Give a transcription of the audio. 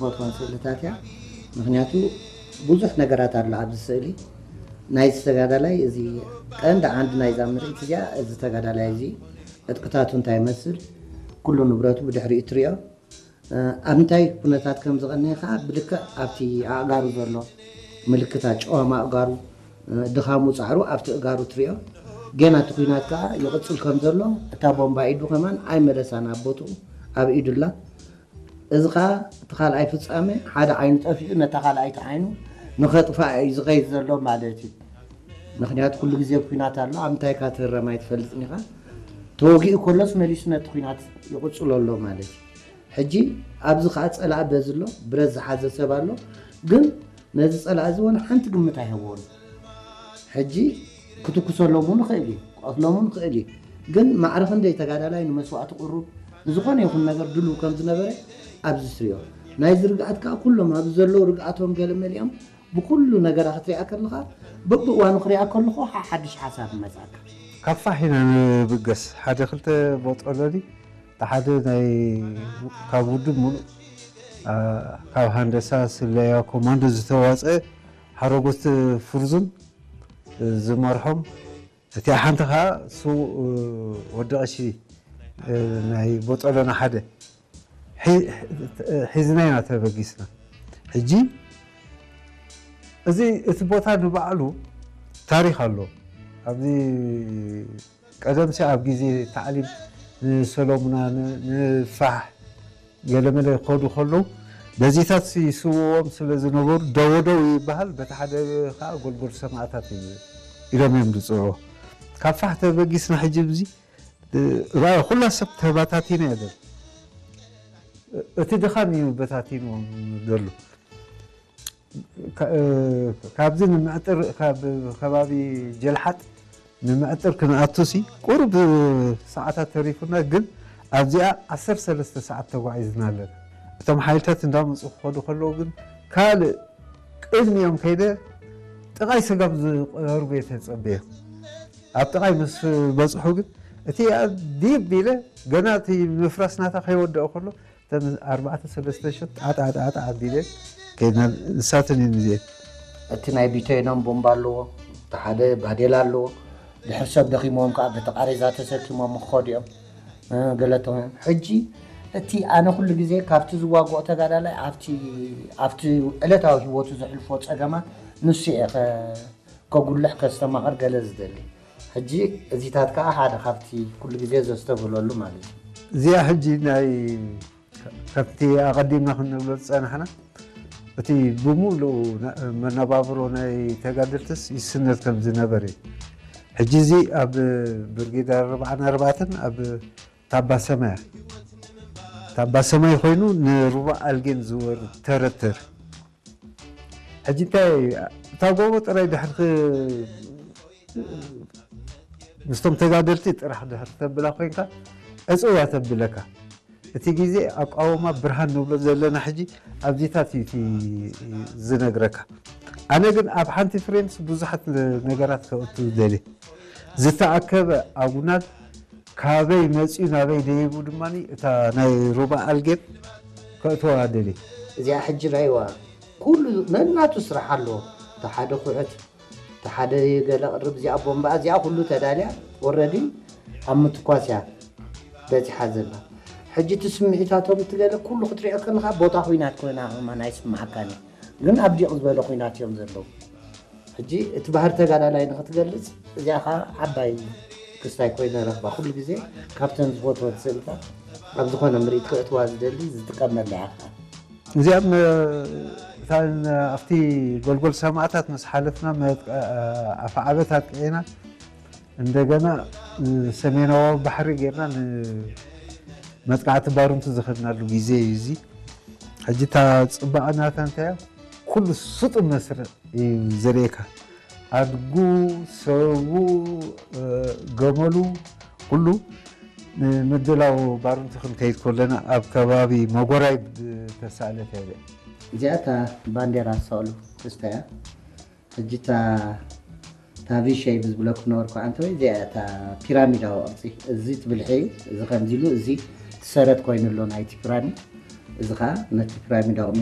ትፈትወን ስእልታት እያ። ምክንያቱ ብዙሕ ነገራት ኣሎ ኣብዚ ስእሊ። ናይዚ ተጋዳላይ እዚ ቀንዲ ዓንዲ ናይዛ ምርኢት እዚኣ፣ እዚ ተጋዳላይ እዚ ዕጥቅታቱ እንታይ ይመስል፣ ኩሉ ንብረቱ ብድሕሪኡ ትሪኦ። ኣብ እንታይ ኩነታት ከም ዝቐነየ ከዓ ብልክዕ ኣብቲ ኣእጋሩ ዘሎ ምልክታት፣ ጨዋማ ኣእጋሩ፣ ድኻሙ ፃዕሩ ኣብቲ እጋሩ ትሪኦ። ገና እቲ ኩናት ከዓ ይቕፅል ከም ዘሎ፣ እታ ቦምባ ኢዱ ከማን ኣይመለሳን፣ ኣብ ቦትኡ ኣብ ኢዱ ኣላ። እዚ ከዓ እቲ ካልኣይ ፍጻመ፣ ሓደ ዓይኑ ጠፊኡ ነታ ካልኣይቲ ዓይኑ ንኸጥፍኣ እዩ ዝኸይድ ዘሎ ማለት እዩ። ምክንያቱ ኩሉ ግዜ ኩናት ኣሎ፣ ኣብ ምንታይ ኢኻ ትህረም ኣይትፈልጥን ኢኻ። ተወጊኡ ከሎስ መሊሱ ነቲ ኩናት ይቕጽሎ ኣሎ ማለት እዩ። ሕጂ ኣብዚ ከዓ ጸላኢ በዚ ኣሎ፣ ብረት ዝሓዘ ሰብ ኣሎ። ግን ነዚ ጸላኢ እዚ ወላ ሓንቲ ግምት ኣይህቦን። ሕጂ ክትኩሰሎም እውን ይኽእል እዩ፣ ክቐትሎም እውን ይኽእል እዩ። ግን ማዕረ ክንደይ ተጋዳላይ ንመስዋእቲ ቅሩብ፣ ንዝኾነ ይኹን ነገር ድሉው ከም ዝነበረ ኣብዚ ትሪኦ። ናይዚ ርግኣት ከዓ ኩሎም ኣብዚ ዘለዉ ርግኣቶም ገለ መሊኦም ብኩሉ ነገራ ክትሪኣ ከለኻ፣ በብእዋኑ ክሪኣ ከለኹ ሓ-፣ ሓድሽ ሓሳብ ይመጻካ። ካብ ፋሕ ኢና ንብገስ። ሓደ ክልተ ቦጦሎኒ፣ እቲ ሓደ ናይ ካብ ውድብ ሙሉእ፣ አ፣ ካብ ሃንደሳ ስለያ ኮማንዶ ዝተዋፀ ሓረጎት ፍርዙን ዝመርሖም፣ እቲኣ ሓንቲ ከዓ ስዉእ ወዲ ቀሺ ናይ ቦጦሎና ሓደ ሒ-፣ ሒዝና ኢና ተበጊስና። ሕጂ እዚ እቲ ቦታ ንባዕሉ ታሪክ ኣሎ። ኣብዚ ቀደምሲ ኣብ ግዜ ታዕሊም ንሰሎሙና ን-፣ ንፋሕ ገለመለ ክኸዱ ከለዉ በዚታት ይስውዎም ስለ ዝነበሩ ደወደው ይበሃል። በቲ ሓደ ከዓ ጎልጎል ሰማእታት እዩ ኢሎም እዮም ዝፅውዑ። ካብ ፋሕ ተበጊስና ሕጂ ብዚ ራእይ ኩላ ሰብ ተባታቲና እያ ዘሎ። እቲ ድኻም እዩ በታቲንዎም ዘሎ። ካ-፣ ካብዚ ንምዕጥር ካብ ከባቢ ጀልሓጥ ንምዕጥር ክንኣቱሲ ቁሩብ ሰዓታት ተሪፉና፣ ግን ኣብዚኣ ዓሰርተ ሰለስተ ሰዓት ተጓዒዝና ኣለና። እቶም ሓይልታት እንዳመፁ ክኸዱ ከለዉ ግን ካልእ ቅድሚኦም ከይደ ጥቓይ ሰጋብ ዝቐርቡ እየ ተጸበየ። ኣብ ጥቓይ ምስ በጽሑ ግን እቲ ዲብ ኢለ ገና እቲ ምፍራስ ናታ ከይወደኦ ከሎ እተን ኣርባዕተ ሰለስተ ሸት ጣጣጣጣ ኣቢለ ከይድና። ንሳተን እየን እዚኤን። እቲ ናይ ቢተይኖም ቦምባ ኣለዎ፣ እቲ ሓደ ባዴላ ኣለዎ። ድሕር ሰብ ደኺሞም ከዓ በቲ ቃሬዛ ተሰኪሞም ክኸዱ እዮም። እ፣ ገለቶም እዮም። ሕጂ እቲ ኣነ ኩሉ ግዜ ካብቲ ዝዋግኦ ተጋዳላይ ኣብቲ ኣብቲ ዕለታዊ ህይወቱ ዘሕልፎ ጸገማት ንሱ እየ ከ-፣ ከጉልሕ ከስተማቕር ገለ ዝደሊ። ሕጂ እዚታት ከዓ ሓደ ካብቲ ኩሉ ግዜ ዘስተብህለሉ ማለት እዩ። እዚኣ ሕጂ ናይ ከምቲ ኣቐዲምና ክንብሎ ዝጸናሕና፣ እቲ ብምሉኡ ና-፣ መነባብሮ ናይ ተጋደልትስ ይስነድ ከም ዝነበረ እዩ። ሕጂ እዚ ኣብ ብርጌድ ኣርባዓን ኣርባዕተን ኣብ ታባ ሰማያ፣ ታባ ሰማይ ኮይኑ ንሩባ ኣልጌን ዝወርድ ተረተር። ሕጂ እንታይ እታ ጎቦ ጥራይ ድሕር ክ-፣ ምስቶም ተጋደልቲ ጥራሕ ድሕር ተብላ ኮይንካ ዕጽዋ ተብለካ። እቲ ግዜ ኣቃውማ ብርሃን ንብሎ ዘለና ሕጂ ኣብዚታት እዩ እቲ ዝነግረካ። ኣነ ግን ኣብ ሓንቲ ፍሬምስ ብዙሓት ነገራት ከእቱ ደልየ። ዝተኣከበ ኣጉናድ ካበይ መፅዩ ናበይ ደይቡ ድማ እታ ናይ ሩባ ኣልጌን ከእትዋ ደልየ። እዚኣ ሕጂ ራይዋ ኩሉ ነናቱ ስራሕ ኣለዎ። እቲ ሓደ ኩዕት፣ እቲ ሓደ ገለ ቅርብ፣ እዚኣ ቦምባ፣ እዚኣ ኩሉ ተዳልያ ወረዲ ኣብ ምትኳስ እያ በፂሓ ዘላ። ሕጂ እቲ ስምዒታቶም እቲ ገለ ኩሉ ክትሪኦ ከለካ ቦታ ኩናት ኮይና ከማን ኣይስምዓካን እዩ። ግን ኣብ ዲቕ ዝበለ ኩናት እዮም ዘለዉ። ሕጂ እቲ ባህሪ ተጋዳላይ ንክትገልፅ እዚኣ ከዓ ዓባይ ክስታይ ኮይነ ረኽባ። ኩሉ ግዜ ካብተን ዝፈትወን ስእልታት ኣብ ዝኾነ ምርኢት ክእትዋ ዝደሊ ዝጥቀመላ እያ ከዓ። እዚኣ ም-፣ እታ ን-፣ ኣብቲ ጎልጎል ሰማእታት ምስ ሓለፍና መጥ-፣ ኣፍዓበት ኣጥቂዕና እንደገና ሰሜናዊ ባሕሪ ጌርና ንመጥቃዕቲ ባሩንቲ ዝኸድናሉ ግዜ እዩ እዚ። ሕጂ እታ ፅባቐ ናታ እንታይ እያ? ኩሉ ስጡም መስርዕ እዩ ዘርእየካ። ኣድጉ፣ ሰቡ፣ እ፣ ገመሉ፣ ኩሉ ንምድላው ባሩንቲ ክንከይድ ከለና ኣብ ከባቢ መጎራይ ዝተሳእለት እያ እዚኣ። እዚኣ እታ ባንዴራ ዝሰቕሉ ክስታ እያ። ሕጂ እታ እታ ቪ ሸይብ ዝብለኩ ነበርኩ ኣንተ ወይ እዚኣ እያ እታ ፒራሚዳዊ ቅርጺ። እዚ እቲ ብልሒ እዩ፣ እዚ ከምዚ ኢሉ፣ እዚ እቲ ሰረት ኮይኑ ኣሎ ናይቲ ፒራሚድ። እዚ ኸኣ ነቲ ፒራሚድ ኣቑሚና